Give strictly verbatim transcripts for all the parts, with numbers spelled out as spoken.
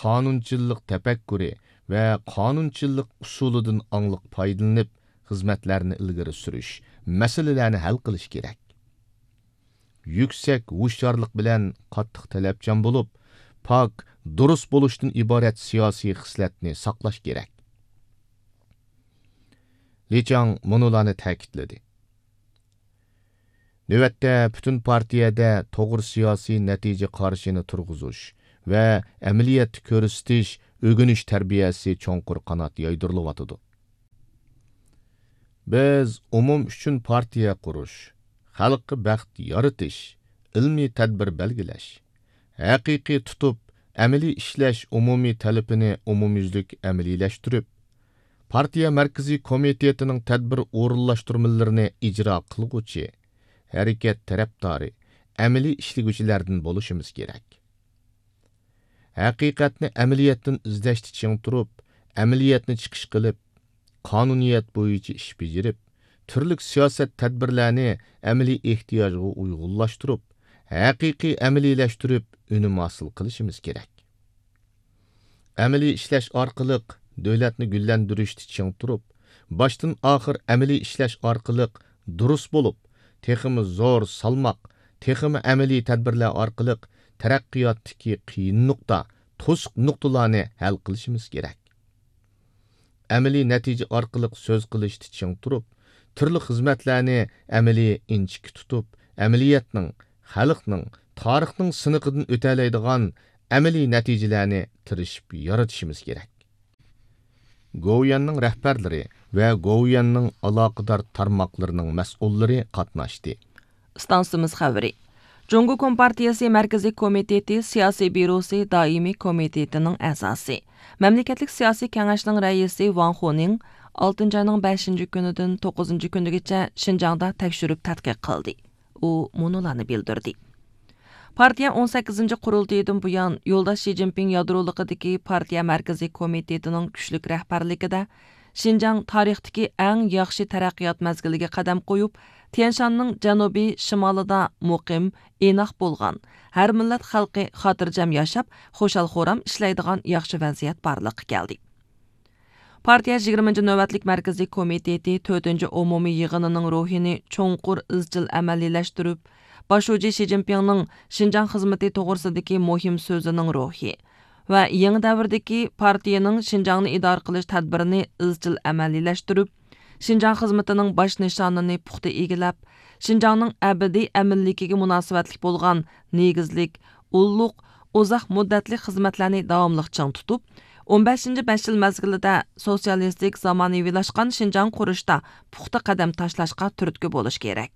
قانۇنچىللىق تەپەككۇرى ۋە قانۇنچىللىق ئۇسۇلىدىن ئاڭلىق پايدىلىنىپ، خىزمەتلەرنى ئىلگىرى سۈرۈش، مەسىلىلەرنى ھەل قىلىش كېرەك. يۈكسەك ھوشيارلىق بىلەن قاتتىق تەلەپچان بولۇپ، پاك، دۇرۇس بولۇشتىن ئىبارەت سىياسىي خىسلەتنى ساقلاش كېرەك. لى چاڭ مۇنۇلارنى تەكىتلىدى. نۆۋەتتە پۈتۈن پارتىيەدە توغرا سىياسىي نەتىجە قارىشىنى تۇرغۇزۇش ۋە ئەمەلىيەتتە كۆرسىتىش، ئۆگىنىش تەربىيەسى چوڭقۇر قانات يايدۇرۇلۇۋاتىدۇ. بىز ئومۇم ئۈچۈن پارتىيە قۇرۇش، خەلققە بەخت يارىتىش، ئىلمىي تەدبىر بەلگىلەش، ھەقىقىي تۇتۇپ، ئەمەلىي ئىشلەش ئومۇمىي تەلىپىنى ئومۇميۈزلۈك ئەمەلىيلەشتۈرۈپ، پارتىيە مەركىزىي كومىتېتىنىڭ تەدبىر ئورۇنلاشتۇرمىلىرىنى ئىجرا قىلغۇچى، ھەرىكەت تەرەپدارى، ئەمەلىي ئىشلىگۈچىلەردىن بولۇشىمىز كېرەك. ھەقىقەتنى ئەمەلىيەتتىن ئىزدەشتە چىڭ تۇرۇپ، ئەمەلىيەتنى چىقىش قىلىپ، قانۇنىيەت بويىچە ئىش بېجىرىپ، تۈرلۈك سىياسەت تەدبىرلەرنى ئەمەلىي ئېھتىياجغا ئۇيغۇنلاشتۇرۇپ، ھەقىقىي ئەمەلىيلەشتۈرۈپ، ئۈنۈم ھاسىل قىلىشىمىز كېرەك. ئەمەلىي ئىشلەش ئارقىلىق دۆلەتنى گۈللەندۈرۈشتە چىڭ تۇرۇپ، باشتىن ئاخىر ئەمەلىي ئىشلەش ئارقىلىق دۇرۇس بولۇپ، تېخىمۇ زور سالماق، تېخىمۇ ئەمەلىي تەدبىرلەر ئارقىلىق تەرەققىياتتىكى قىيىن نۇقتا، توسۇق نۇقتىلارنى ھەل قىلىشىمىز كېرەك. ئەمەلىي نەتىجە ئارقىلىق سۆز قىلىشتا چىڭ تۇرۇپ، تۈرلۈك خىزمەتلەرنى ئەمەلىي ئىنچىكە تۇتۇپ، ئەمەلىيەتنىڭ، خەلقنىڭ، تارىخنىڭ سىنىقىدىن ئۆتەلەيدىغان ئەمەلىي نەتىجىلەرنى تىرىشىپ يارىتىشىمىز كېرەك. گوۋۇيۈەننىڭ رەھبەرلىرى ۋە گوۋۇيۈەننىڭ ئالاقىدار تارماقلىرىنىڭ مەسئۇللىرى قاتناشتى. ئىستانسىمىز خەۋىرى. جۇڭگو كومپارتىيىسى مەركىزىي كومىتېتى سىياسىي بيۇروسى دائىمىي كومىتېتىنىڭ ئەزاسى، مەملىكەتلىك سىياسىي كېڭەشنىڭ رەئىسى ۋاڭ خۇنىڭ ئالتىنچى ئاينىڭ بەشىنچى كۈنىدىن توققۇزىنچى كۈنىگىچە شىنجاڭدا تەكشۈرۈپ تەتقىق قىلدى. ئۇ مۇنۇلارنى بىلدۈردى. پارتىيە ئون سەككىزىنچى قۇرۇلتىيىدىن بۇيان، يولداش شى جىنپىڭ يادرولۇقىدىكى پارتىيە مەركىزىي كومىتېتىنىڭ كۈچلۈك رەھبەرلىكىدە، شىنجاڭ تارىختىكى ئەڭ ياخشى تەرەققىيات مەزگىلىگە قەدەم قويۇپ، تيەنشاننىڭ جەنۇبىي شىمالىدا مۇقىم، ئىناق بولغان، ھەر مىللەت خەلقى خاتىرجەم ياشاپ، خۇشال-خۇرام ئىشلەيدىغان ياخشى ۋەزىيەت بارلىققا كەلدى. پارتىيە يىگىرمىنچى نۆۋەتلىك مەركىزىي كومىتېتى تۆتىنچى ئومۇمىي يىغىنىنىڭ روھىنى چوڭقۇر ئىزچىل ئەمەلىيلەشتۈرۈپ، باش شۇجى شى جىنپىڭنىڭ شىنجاڭ خىزمىتى توغرىسىدىكى مۇھىم سۆزىنىڭ روھى ۋە يېڭى دەۋردىكى پارتىيىنىڭ شىنجاڭنى ئىدارە قىلىش تەدبىرىنى ئىزچىل ئەمەلىيلەشتۈرۈپ، شىنجاڭ خىزمىتىنىڭ باش نىشانىنى پۇختا ئىگىلەپ، شىنجاڭنىڭ ئەبەدىي ئەمىنلىكىگە مۇناسىۋەتلىك بولغان نېگىزلىك، ئۇللۇق، ئۇزاق مۇددەتلىك خىزمەتلەرنى داۋاملىق چىڭ تۇتۇپ، ئون بەشىنچى بەش يىل مەزگىلىدە سوتسىيالىستىك زامانىۋىلاشقان شىنجاڭ قۇرۇشتا پۇختا قەدەم تاشلاشقا تۈرتكە بولۇش كېرەك.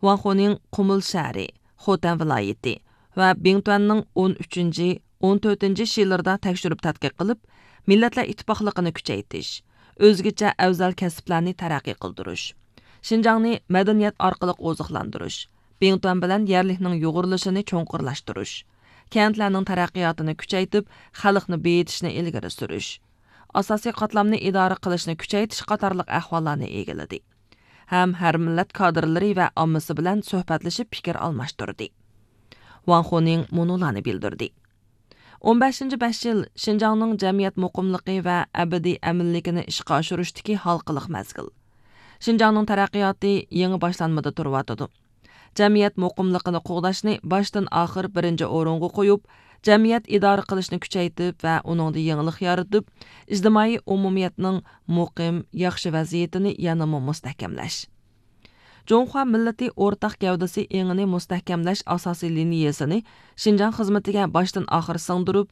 ۋاڭ خۇنىڭ قۇمۇل شەھىرى، خوتەن ۋىلايىتى ۋە بىڭتۈەننىڭ ئون ئۈچىنچى، ئون تۆتىنچى شىلىرىدا تەكشۈرۈپ تەتقىق قىلىپ، مىللەتلەر ئىتتىپاقلىقىنى كۈچەيتىش، ئۆزگىچە ئەۋزەل كەسىپلەرنى تەرەققىي قىلدۇرۇش، شىنجاڭنى مەدەنىيەت ئارقىلىق ئوزۇقلاندۇرۇش، بىڭتۈەن بىلەن يەرلىكنىڭ يۇغۇرۇلۇشىنى چوڭقۇرلاشتۇرۇش، كەنتلەرنىڭ تەرەققىياتىنى كۈچەيتىپ، خەلقنى بېيىتىشنى ئىلگىرى سۈرۈش، ئاساسىي قاتلامنى ئىدارە قىلىشنى كۈچەيتىش قاتارلىق ئەھۋاللارنى ئىگىلىدى. ھەم ھەر مىللەت كادىرلىرى ۋە ئاممىسى بىلەن سۆھبەتلىشىپ پىكىر ئالماشتۇردى. ۋاڭ خۇنىڭ مۇنۇلارنى بىلدۈردى. ئون بەشىنچى بەش يىل شىنجاڭنىڭ جەمئىيەت مۇقىملىقى ۋە ئەبەدىي ئەمىنلىكىنى ئىشقا ئاشۇرۇشتىكى ھالقىلىق مەزگىل. شىنجاڭنىڭ تەرەققىياتى يېڭى باشلانمىدا تۇرۇۋاتىدۇ. جەمئىيەت مۇقىملىقىنى قوغداشنى باشتىن ئاخىر بىرىنچى ئورۇنغا قويۇپ، جەمئىيەت ئىدارە قىلىشنى كۈچەيتىپ ۋە ئۇنىڭدا يېڭىلىق يارىتىپ، ئىجتىمائىي ئومۇمىيەتنىڭ مۇقىم، ياخشى ۋەزىيىتىنى يەنىمۇ مۇستەھكەملەش. جۇڭخۇا مىللىتى ئورتاق گەۋدىسى ئېڭىنى مۇستەھكەملەش ئاساسىي لىنىيەسىنى شىنجاڭ خىزمىتىگە باشتىن ئاخىر سىڭدۈرۈپ،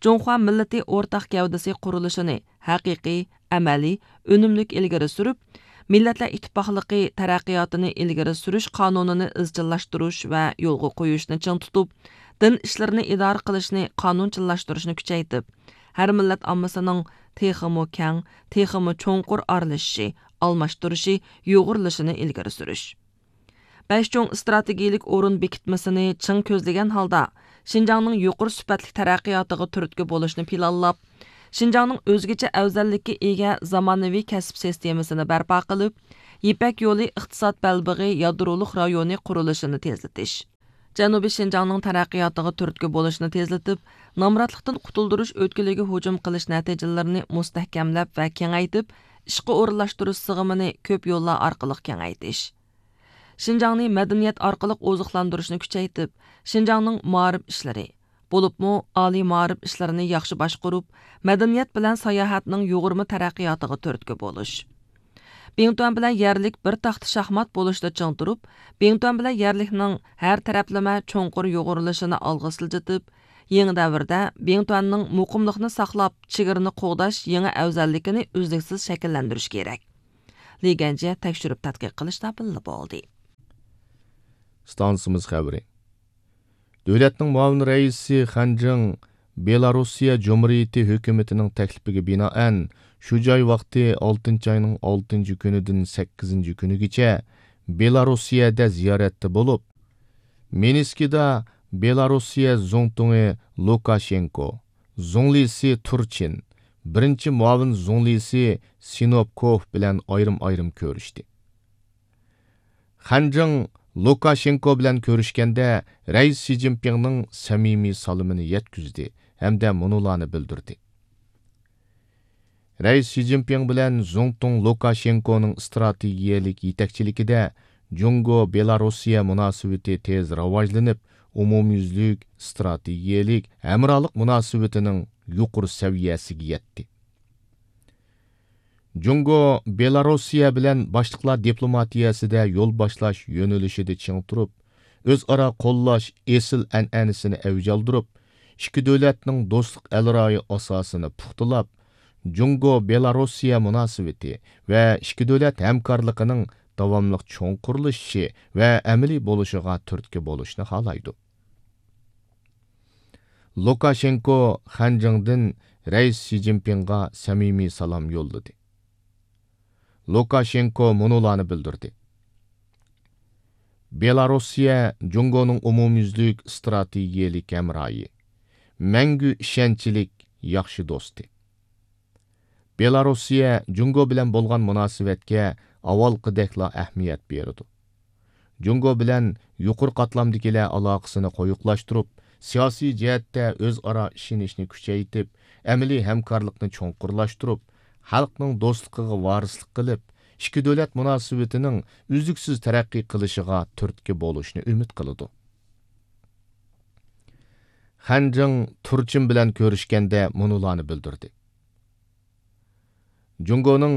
جۇڭخۇا مىللىتى ئورتاق گەۋدىسى قۇرۇلۇشىنى ھەقىقىي، ئەمەلىي، ئۈنۈملۈك ئىلگىرى سۈرۈپ، مىللەتلەر ئىتتىپاقلىقى تەرەققىياتىنى ئىلگىرى سۈرۈش قانۇنىنى ئىزچىللاشتۇرۇش ۋە يولغا قويۇشنى چىڭ تۇتۇپ، دىن ئىشلىرىنى ئىدارە قىلىشنى قانۇنچىللاشتۇرۇشنى كۈچەيتىپ، ھەر مىللەت ئاممىسىنىڭ تېخىمۇ كەڭ، تېخىمۇ چوڭقۇر ئارىلىشىشى، ئالماشتۇرۇشى، يۇغۇرۇلۇشىنى ئىلگىرى سۈرۈش. بەش چوڭ ئىستراتېگىيىلىك ئورۇن بېكىتمىسىنى چىڭ كۆزلىگەن ھالدا، شىنجاڭنىڭ يۇقىرى سۈپەتلىك تەرەققىياتىغا تۈرتكە بولۇشنى پىلانلاپ، شىنجاڭنىڭ ئۆزگىچە ئەۋزەللىككە ئىگە زامانىۋى كەسىپ سىستېمىسىنى بەرپا قىلىپ، يىپەك يولى ئىقتىساد بەلبېغى يادرولۇق رايونى قۇرۇلۇشىنى تېزلىتىش. جەنۇبىي شىنجاڭنىڭ تەرەققىياتىغا تۈرتكە بولۇشنى تېزلىتىپ، نامراتلىقتىن قۇتۇلدۇرۇش ئۆتكىلىگە ھۇجۇم قىلىش نەتىجىلىرىنى مۇستەھكەملەپ ۋە كېڭەيتىپ، ئىشقا ئورۇنلاشتۇرۇش سىغىمىنى كۆپ يوللار ئارقىلىق كېڭەيتىش. شىنجاڭنى مەدەنىيەت ئارقىلىق ئوزۇقلاندۇرۇشنى كۈچەيتىپ، شىنجاڭنىڭ مائارىپ ئىشلىرى، بولۇپمۇ ئالىي مائارىپ ئىشلىرىنى ياخشى باشقۇرۇپ، مەدەنىيەت بىلەن ساياھەتنىڭ يۇغۇرما تەرەققىياتىغا تۈرتكە بولۇش. بىڭتۈەن بىلەن يەرلىك بىر تاختا شاھمات بولۇشتا چىڭ تۇرۇپ، بىڭتۈەن بىلەن يەرلىكنىڭ ھەر تەرەپلىمە چوڭقۇر يۇغۇرۇلۇشىنى ئالغا سىلجىتىپ، يېڭى دەۋردە بىڭتۈەننىڭ مۇقىملىقنى ساقلاپ، چېگرىنى قوغداش يېڭى ئەۋزەللىكىنى ئۈزلۈكسىز شەكىللەندۈرۈش كېرەك. لى گەنجيە تەكشۈرۈپ تەتقىق قىلىشتا بىللە بولدى. ئىستانسىمىز خەۋىرى. دۆلەتنىڭ مۇئاۋىن رەئىسى خەن جىڭ بېلاروسىيە جۇمھۇرىيىتى ھۆكۈمىتىنىڭ تەكلىپىگە بىنائەن، شۇ جاي ۋاقتى ئالتىنچى ئاينىڭ ئالتىنچى كۈنىدىن سەككىزىنچى كۈنىگىچە بېلاروسىيەدە زىيارەتتە بولۇپ، مىنسكىدا بېلاروسىيە زۇڭتۇڭى لۇكاشېنكو، زۇڭلىسى تۇرچىن، بىرىنچى مۇئاۋىن زۇڭلىسى سىنوپكوف بىلەن ئايرىم-ئايرىم كۆرۈشتى. خەن جىڭ لۇكاشېنكو بىلەن كۆرۈشكەندە، رەئىس شى جىنپىڭنىڭ سەمىمىي سالىمىنى يەتكۈزدى ھەمدە مۇنۇلارنى بىلدۈردى. رەئىس شى جىنپىڭ بىلەن زۇڭتۇڭ لۇكاشېنكونىڭ ئىستراتېگىيەلىك يېتەكچىلىكىدە جۇڭگو بېلاروسىيە مۇناسىۋىتى تېز راۋاجلىنىپ، ئومۇميۈزلۈك ئىستراتېگىيەلىك ھەمراھلىق مۇناسىۋىتىنىڭ يۇقىرى سەۋىيەسىگە يەتتى. جۇڭگو بېلاروسىيە بىلەن باشلىقلار دىپلوماتىيەسىدە يول باشلاش يۆنىلىشىدە چىڭ تۇرۇپ، ئۆزئارا قوللاش ئېسىل ئەنئەنىسىنى ئەۋج ئالدۇرۇپ، ئىككى دۆلەتنىڭ دوستلۇق ئەلرايى ئاساسىنى پۇختىلاپ، جۇڭگو بېلاروسىيە مۇناسىۋىتى ۋە ئىككى دۆلەت ھەمكارلىقىنىڭ داۋاملىق چوڭقۇرلىشىشى ۋە ئەمەلىي بولۇشىغا تۈرتكە بولۇشنى خالايدۇ. لۇكاشېنكو خەن جىڭدىن رەئىس شى جىنپىڭغا سەمىمىي سالام يوللىدى. لۇكاشېنكو مۇنۇلارنى بىلدۈردى: بېلاروسىيە جۇڭگونىڭ ئومۇميۈزلۈك ئىستراتېگىيەلىك ھەمراھى، مەڭگۈ ئىشەنچلىك ياخشى دوستى. بېلاروسىيە جۇڭگو بىلەن بولغان مۇناسىۋەتكە ئاۋۋالقىدەكلا ئەھمىيەت بېرىدۇ. جۇڭگو بىلەن يۇقىرى قاتلامدىكىلەر ئالاقىسىنى قويۇقلاشتۇرۇپ، سىياسىي جەھەتتە ئۆزئارا ئىشىنىشنى كۈچەيتىپ، ئەمەلىي ھەمكارلىقنى چوڭقۇرلاشتۇرۇپ، خەلقنىڭ دوستلۇقىغا ۋارىسلىق قىلىپ، ئىككى دۆلەت مۇناسىۋىتىنىڭ ئۈزلۈكسىز تەرەققىي قىلىشىغا تۈرتكە بولۇشنى ئۈمىد قىلىدۇ. خەن جىڭ تۇرچىن بىلەن كۆرۈشكەندە مۇنۇلارنى بىلدۈردى: جۇڭگونىڭ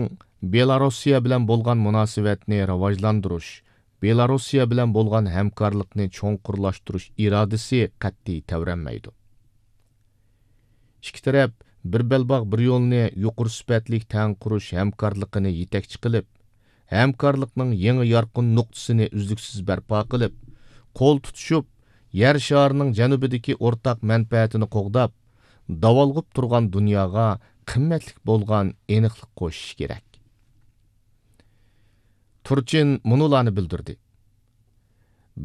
بېلاروسىيە بىلەن بولغان مۇناسىۋەتنى راۋاجلاندۇرۇش، بېلاروسىيە بىلەن بولغان ھەمكارلىقنى چوڭقۇرلاشتۇرۇش ئىرادىسى قەتئىي تەۋرەنمەيدۇ. ئىككى تەرەپ بىر بەلباغ، بىر يولنى يۇقىرى سۈپەتلىك تەڭ قۇرۇش ھەمكارلىقىنى يېتەكچى قىلىپ، ھەمكارلىقنىڭ يېڭى يارقىن نۇقتىسىنى ئۈزلۈكسىز بەرپا قىلىپ، قول تۇتۇشۇپ، يەر شارىنىڭ جەنۇبىدىكى ئورتاق مەنپەئەتىنى قوغداپ، داۋالغۇپ تۇرغان دۇنياغا قىممەتلىك بولغان ئېنىقلىق قوشۇش كېرەك. تۇرچىن مۇنۇلارنى بىلدۈردى: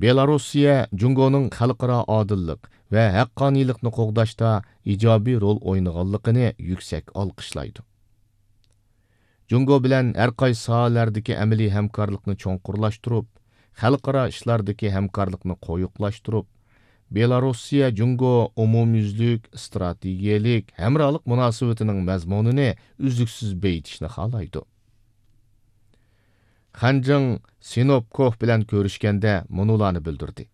بېلاروسىيە جۇڭگونىڭ خەلقئارا ئادىللىق ۋە ھەققانىيلىقنى قوغداشتا ئىجابىي رول ئوينىغانلىقىنى يۈكسەك ئالقىشلايدۇ. جۇڭگو بىلەن ھەر قايسى ساھەلەردىكى ئەمەلىي ھەمكارلىقنى چوڭقۇرلاشتۇرۇپ، خەلقئارا ئىشلاردىكى ھەمكارلىقنى قويۇقلاشتۇرۇپ، بېلاروسىيە جۇڭگو ئومۇميۈزلۈك ئىستراتېگىيەلىك ھەمراھلىق مۇناسىۋىتىنىڭ مەزمۇنىنى ئۈزلۈكسىز بېيىتىشنى خالايدۇ. خەن جىڭ سىنوپكوف بىلەن كۆرۈشكەندە مۇنۇلارنى بىلدۈردى: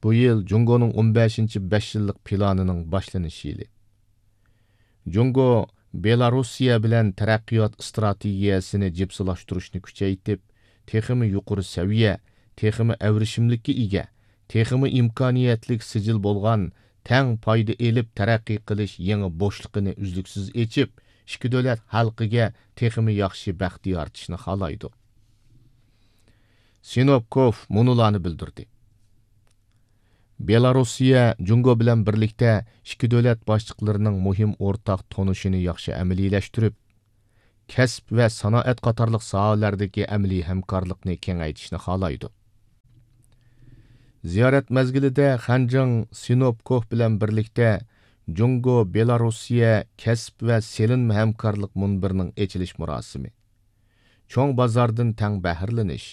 بۇ يىل جۇڭگونىڭ ئون بەشىنچى بەش يىللىق پىلانىنىڭ باشلىنىش يىلى. جۇڭگو بېلاروسىيە بىلەن تەرەققىيات ئىستراتېگىيەسىنى جىپسىلاشتۇرۇشنى كۈچەيتىپ، تېخىمۇ يۇقىرى سەۋىيە، تېخىمۇ ئەۋرىشىملىككە ئىگە، تېخىمۇ ئىمكانىيەتلىك سىجىل بولغان، تەڭ پايدا ئېلىپ تەرەققىي قىلىش يېڭى بوشلۇقىنى ئۈزلۈكسىز ئېچىپ، ئىككى دۆلەت خەلقىگە تېخىمۇ ياخشى بەخت يارىتىشنى خالايدۇ. سىنوپكوف مۇنۇلارنى بىلدۈردى: بېلاروسىيە جۇڭگو بىلەن بىرلىكتە ئىككى دۆلەت باشلىقلىرىنىڭ مۇھىم ئورتاق تونۇشىنى ياخشى ئەمەلىيلەشتۈرۈپ، كەسىپ ۋە سانائەت قاتارلىق ساھەلەردىكى ئەمەلىي ھەمكارلىقنى كېڭەيتىشنى خالايدۇ. زىيارەت مەزگىلىدە خەن جىڭ سىنوپكوف بىلەن بىرلىكتە جۇڭگو بېلاروسىيە كەسىپ ۋە سېلىنما ھەمكارلىق مۇنبىرىنىڭ ئېچىلىش مۇراسىمى، چوڭ بازاردىن تەڭ بەھرىلىنىش،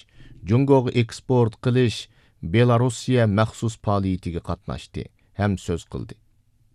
جۇڭگوغا ئېكسپورت قىلىش بېلاروسىيە مەخسۇس پائالىيىتىگە قاتناشتى ھەم سۆز قىلدى.